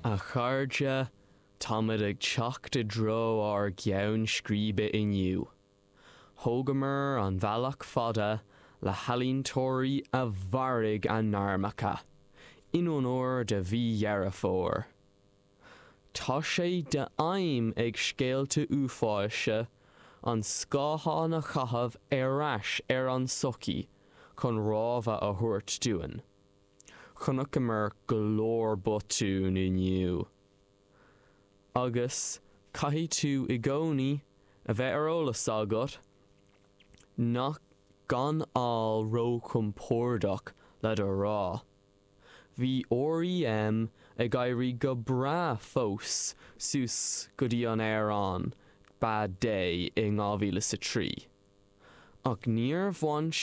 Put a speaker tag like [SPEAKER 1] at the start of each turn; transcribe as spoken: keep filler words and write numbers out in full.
[SPEAKER 1] A chairde táimid ag teacht i dtreo ár gceann scríbe inniu. Thógamar an bealach fada le healaíontóirí a mharaigh a ngairmeacha, in onóir do mhí Dheireadh Fómhair. Tá sé d'aidhm ag scéalta uafáis an scáthán a chaitheamh ar ais ar an tsochaí chun rabhadh a thabhairt dúinn. Chonaiceamar go leor botún inniu. Agus caithfidh tú i gcónaí a bheith ar eolas agat nach gan fháil róchompordach le do rá. Bhí REM ag éirí go breá fós suas go dtí an amhrán Bad Day in dhá mhíle sa trí. Ach níor bhain